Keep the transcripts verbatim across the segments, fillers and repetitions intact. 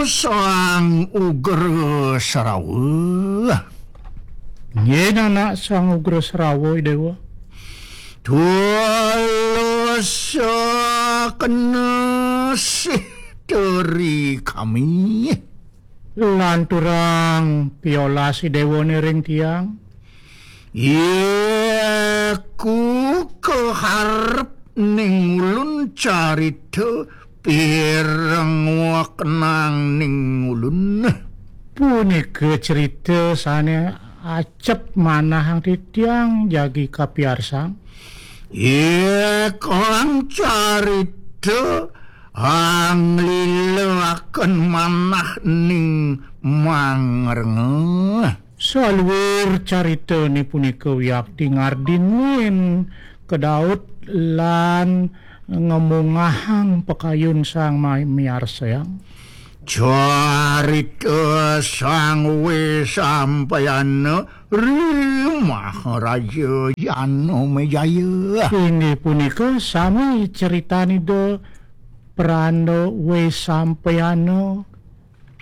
Sang Ugra Srawa. Nggih, anak Sang Ugra Srawa, Dewa. Tulus kena sih teri kami. Lanturang piolas Dewa ring tiang. Iku kaharep ning ulun carita pireng wakenang ning ulun. Punika cerita sane acep manahang titiang jagi kapiarsang. Ikang carita anglila akan manah ning mangrengeh. Saluir caritane punika wiakti ngardinin kedaut lan ngemungahang pakayun sang ma-, miarsayang. Carita Sang Wesampayana ri Maharaja Janamejaya. Inggih punika sami critanida Pranda Wesampayana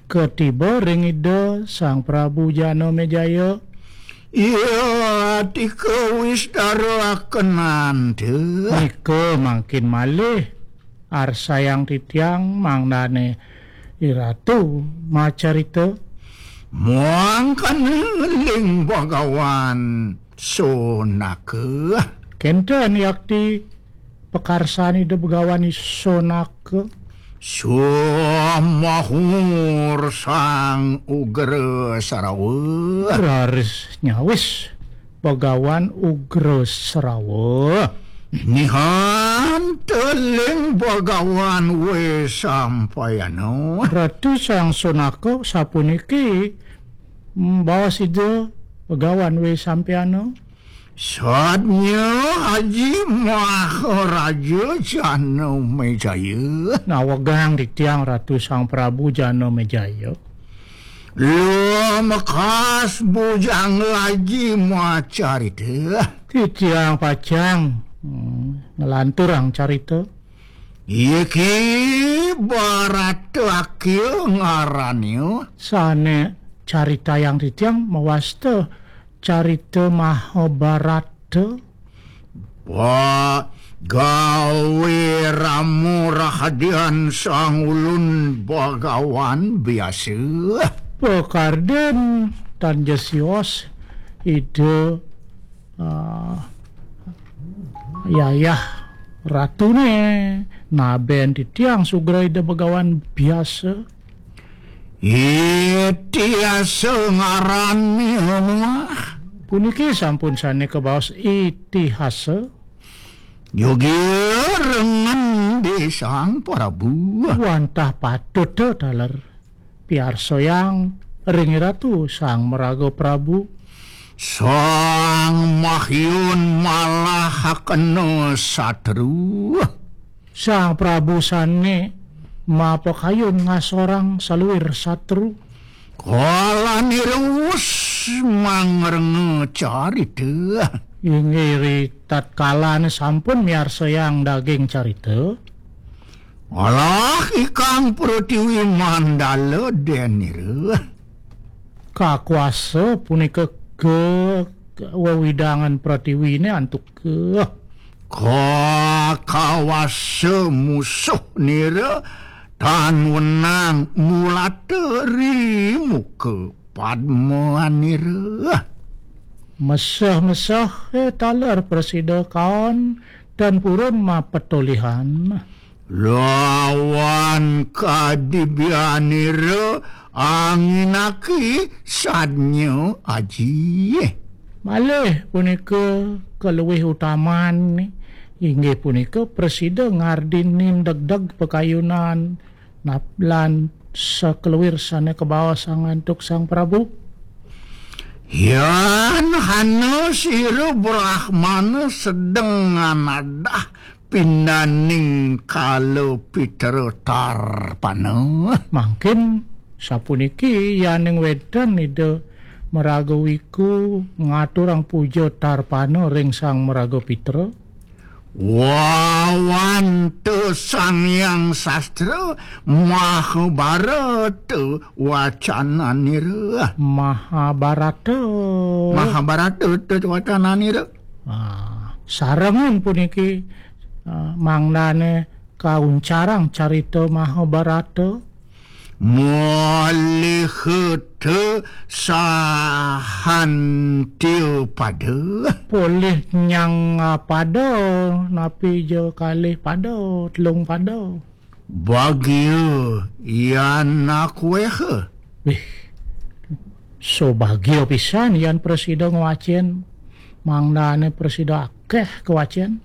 katiba ring Ida Sang Prabu Janamejaya. Iya, tika wistara akenanta. Nika mangkin malih arsayang titiang mangdane iratu macarita. Mangkana ling Bagawan Sonaka. Kenten yakti pakarsan Ida Begawan Sonaka. Sumahur Sang Ugra Sarawa. Raris nyawis Begawan Ugra Sarawa. Nihan teling Begawan Wesampayana. Ratu Sang Sonaka sapuniki, mm, baos Ida Begawan Wesampayana. Sadnya Aji Maharaja Janamejaya. Nawegang titiang Ratu Sang Prabu Janamejaya. Lumekas bujangga Aji macarita. Titiang pacang, mm, nglanturang carita. Iki Barata Akya ngarannya. Sane caritayang titiang mawasta carita Mahabharata. Wa gawe ramu rahadian sang ulun Bagawan biasa. Pakarden tan ja sios Ida, ah, Yayah Ratune naben titiang sugra Ida Begawan biasa. Itihasa ngarannya. Puniki sampun sane kabaos itihasa. Yogi rengen di Sang Prabu. Wantah patut taler piarsayang ring Ratu Sang Maraga Prabu. Sang Mahyun malahakena satru. Sang Prabu sane mapakayun ngasorang saluir satru. Kala nirus mangrenge carita. Inggih ri tatkalane sampun miarsayang daging carita. Alah ikang Pratiwi Mandala denira. Kakuasa punika ke, ke wewidangan Pratiwine antuk ke. Kakawasa musuh nira tan wenang mulata ri muka padma nira. Meseh-meseh, eh, taler prasida kaon tan purun mapetolihan. Lawan kadibianira anginaki sadnya aji. Malih punika kaluwih utaman inggih punika prasida ngardinin degdeg pakayunan nap-, lan sakeluwir sane kabaosang antuk Sang Prabu. Yan hana sira Brahmana sedeng nganadah pindaning kala Pitra Tarpana. Mangkin sapuniki yaning wenten Ida Maraga Wiku ngaturang puja Tarpana ring Sang Maraga Pitra. Wawanta Sang Hyang Sastra Mahabharata wacananira. Mahabharata. Mahabharata wacananira. Ah, sarengan puniki, ah, mangdane kauncarang carita Mahabharata. Molihata sahantiya pada. Polih nyang pada, napi ja kalih pada, telung pada. Bagia yan akweha. Wih, sobagia pisan yan prasida ngwacen, mangdane prasida akeh kawacen.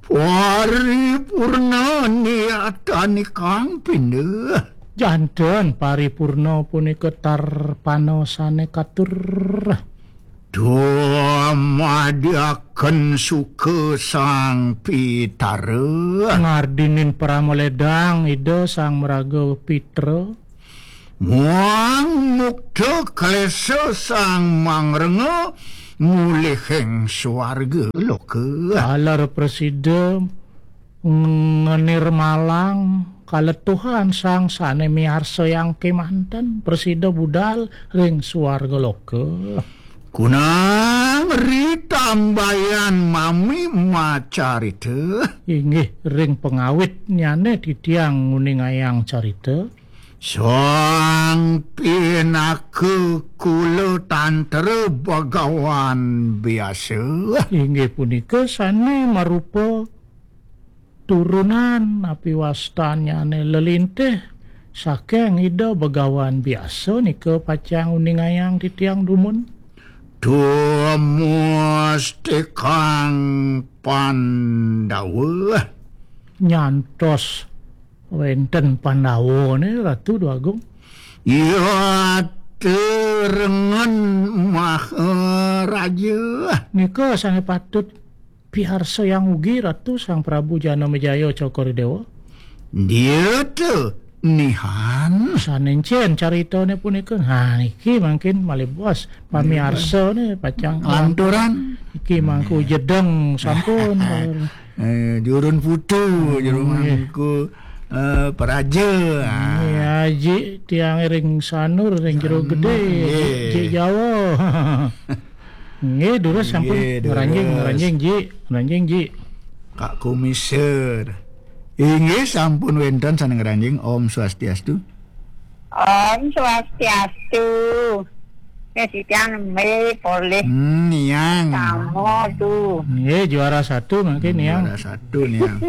Paripurna niyatani kang pinda. Janten paripurna punika tarpana sane katur. Dumadyaken suka Sang Pitara. Ngardinin parama ledang Ida Sang Maraga Pitra. Muang mukta klesa Sang Mangrenga mulihing swarga loka. Taler prasida ngenirmalang kaletuhan sang sane miarsayang kemanten, prasida budal ring swarga loka. Kunang ritambayan mami macarita. Inggih, ring pangawitnyane titiang nguningayang carita. Sang pinaka kula tantra bagawan biasa. Inggih punika sane marupa turunan api wastannyane lelintih saking Ida Bagawan biasa nika pacang uningayang titiang dumun. Tumustikang Pandawa. Nyantos wenten Pandawane, Ratu Dwagung. Ya, terengen Maharaja. Nika sane patut piarsayang ugi Ratu Sang Prabu Janamejaya Cokor Dewa. Dia tu nihan. Sanencen caritane punika. Nah, niki mangkin malih bos pamiarsane pacang lanturan. Iki mangku jedeng sampun. Eh, jurun putu, jurun mangku, eh, peraja. Ah. Nggih, Aji tiang ring Sanur, ring Jero Gede, nggih. Jik Jawa. Nggih, durus sampun. Nggih, durus. Ngranjing, ngranjing, Ji. Ngranjing, Ji. Kak Kumisir. Inggih, sampun wenten sane ngranjing. Om Swastiastu. Om Swastiastu. Nggih, titiang nembé polih. Hmm, niang. Sama tu. Nggih, juara satu mangkin, niang. Juara satu, niang.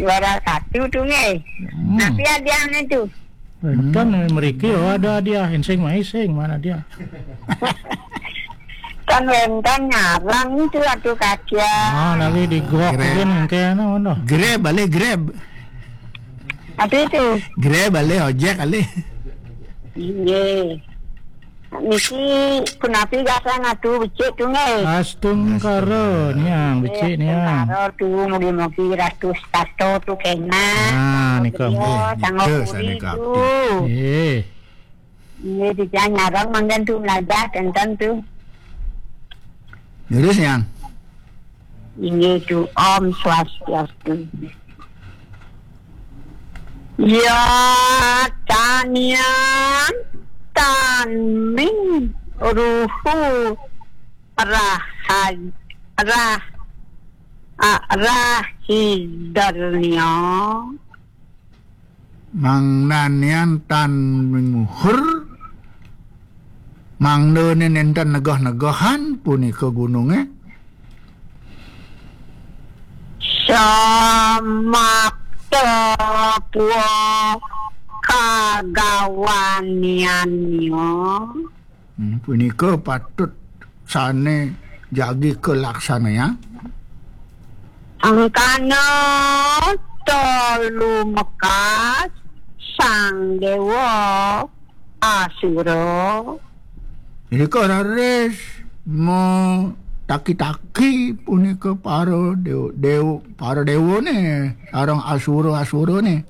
Juara satu tu, nggih. Hmm. Tapi hadiahnya tu. Kan mriki, oh, ada hadiah, sing mai sing, mana dia? Kan wénten ngarang itu, atuh, kacian. Ah, lagi di gok. Grab. Mungkin, mungkin, ono. Grab, alih Grab. Apa itu? Grab, alih ojek, alih. Iya. Niki punapi gasan atuh becik tu, nggih. Astungkara, niang, becik, niang. Astungkara tu, mugi-mugi ratus tato tu kena. Ah, nika. Iya, nggih, sanggup nika puri tu. Nggih. Nggih, titiang nyareng mangkin tu melajah tenten tu. Terus, niang. Inggih tu, Om Swastiastu. Ya, tanian, tanming, ruhu, rahaj-, rah-, a-, rahidarnya. Mangdanian tan minguhur, mangdane nenten negah-negahan punika gununge. Samakta pua kagawaniannya. Hmm, punika patut sane jagi kalaksanayang. Angkana tolu mekas Sang Dewa Asura. Nika raris mataki-taki punika para dew-, dew-, para dewane sareng asura-asurane.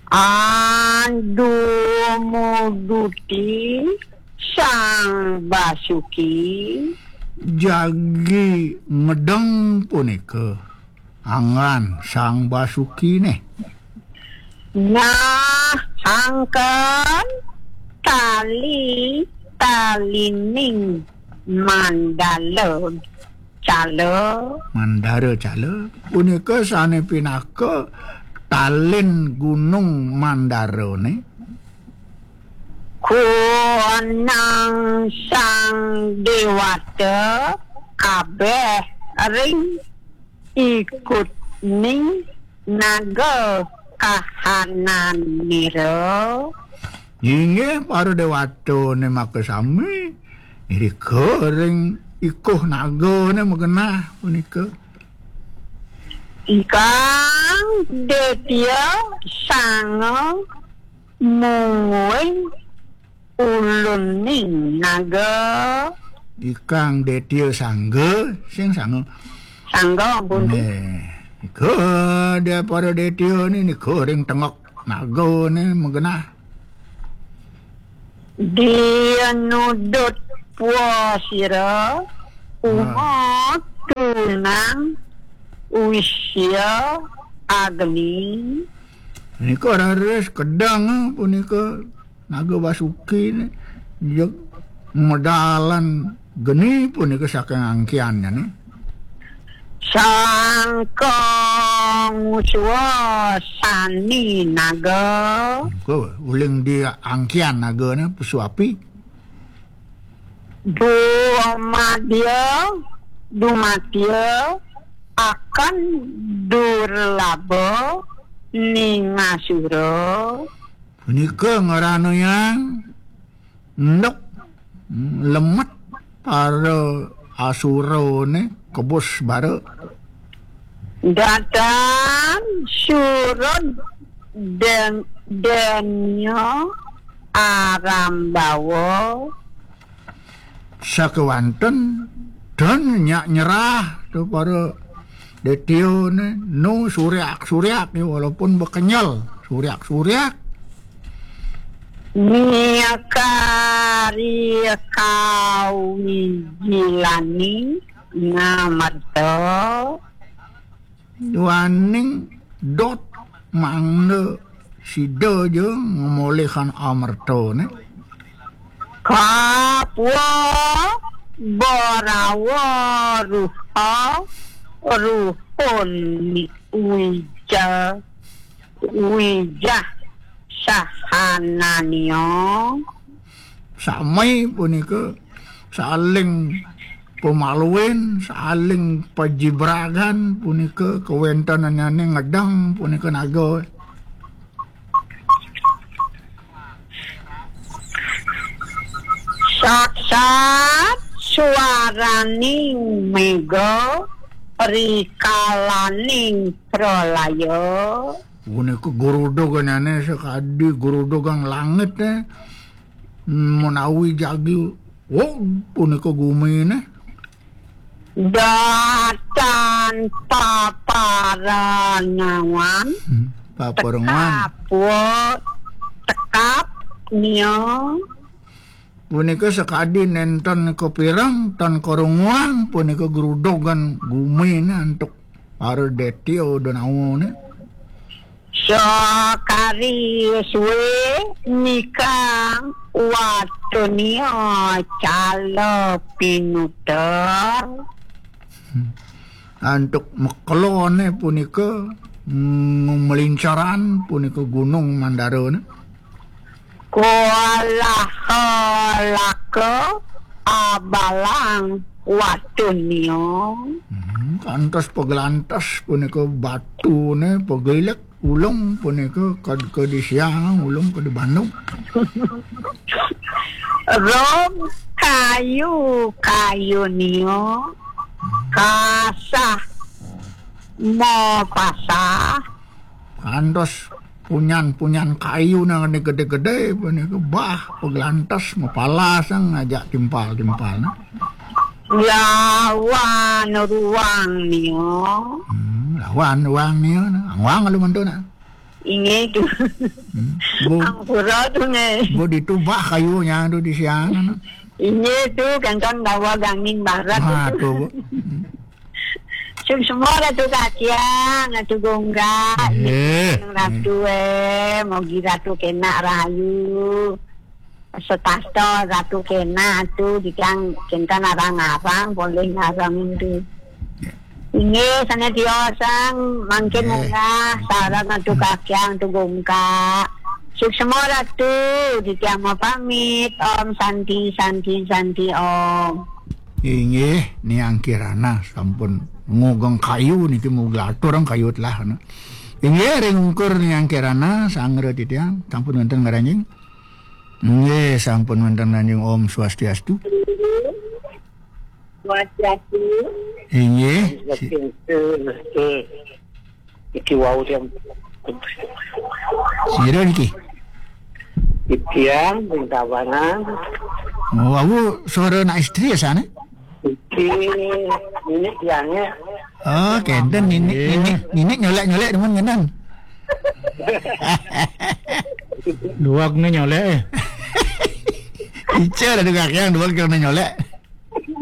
Andumuduti Sang Basuki. Jagi medeng punika. Anggan Sang Basuki nih. Nah, angken tali talining Mandala Cala. Mandara Cala. Punika sane pinaka talin Gunung Mandarane. Kuanang Sang Dewata kabeh ring ikutning naga kahananira. Inggih, para dewatane makasami, irika ring ikuh nagane magenah punika. Ikang Detya Sanga mungguing uluning naga. Ikang Detya Sangga, sing Sanga. Sangga, ampun. Nggih. Nika dia para Detya ni, nika ring tengok naga ni magenah. Dia nudut pua sira, ha, uma tunang wisya agni. Nika raris kedeng, punika Naga Basuki ni, jeg medalan geni punika saking angkiannya ni. Sangkang suasani naga. Ke uling di angkian naga ni, pesu api. Dumadya, dumatya, akan durlaba ningasura. Punika ngranayang enduk, lemet para asurane kebus bara. Datan surud den-, denya arambawa. Sakewanten dan nyak nyerah tu para Detya ni, nu suryak-suryak ni, walaupun bekenyel, suryak-suryak. Miakari kawijilani ngamerta. Duaning dot mangda sida ja ngemolihang amertane. Kapwa barawa ruha ruhun wija, wijah sahananyo. Sami punika saling pamaluin, saling pajibragan punika kawentenannyane ngedeng punika naga. Saksat suaraning mega rikalaning pralaya. Punika gruduganane sakadi grudugang langit, eh. Menawi jagi, oh, punika gumine. Datan paparangawan. Hmm, paparangawan. Tekap, wo, tekap, nyo. Punika sakadi nenten kapireng, tan karunguang, punika grudugan gumine antuk para Detya Danawa ni. Sakari suwe nikang watunia cala pinuter. Hmm. Antuk mekelone punika, mm, melincaran punika Gunung Mandara ni. Kualaha laka abalang watunia. Hmm, kantos pagelantos punika batune pagilik ulung punika kad-, kadisiang ulung kadi Bandung. Rom kayu, kayu nio kasah mapasah. Kantos punyan-punyan kayu nang gede-gede punika bah paglantas mapalasang ngajak timpal-timpal na. Lawan ruang nio. Hmm, lawan ruang nio na. Angwang lu mantu na. Inggih tu. Hmm. Bo, ampura tu ne. Bo ditu bah kayu nya tu di siang na. Inggih tu, kancan dawa gangin barat. Wah, tu. Tu, Bu. Hmm. Suksma Ratu Kakyang, Ratu Gongga, Nggih. Ratu, eh, mogi Ratu kenak rahayu. Setasta Ratu kenak, Ratu, titiang kinten arang-arang, polih ngarang tu. Inggih, sané tiosan, mangkin Nggih. Munggah, sareng Ratu Kakyang, Ratu Gongga. Suksma Ratu, titiang mapamit. Om Santi, Santi, Santi, Om. Inggih, Niang Kirana sampun ngugeng kayu niki, mugi aturang kayu telah, nah. Inggih, ring ungkur Niang Kirana, sangra titiang, sampun wénten ngranjing. Inggih, sampun wénten ngranjing. Om Swastiastu. Swastiastu. Inggih. Si- Swastiastu. Iki wau tiang. Sira niki? Tiang ring Tabanan. Oh, wau suara anak istri ya, sana? Iki nini tiangnya. Oh, kenten nini, Iya. nini, nini nyolek-nyolek demen ngenen. Duak ni nyolek, eh. Ica ada Kakyang duak kena nyolek.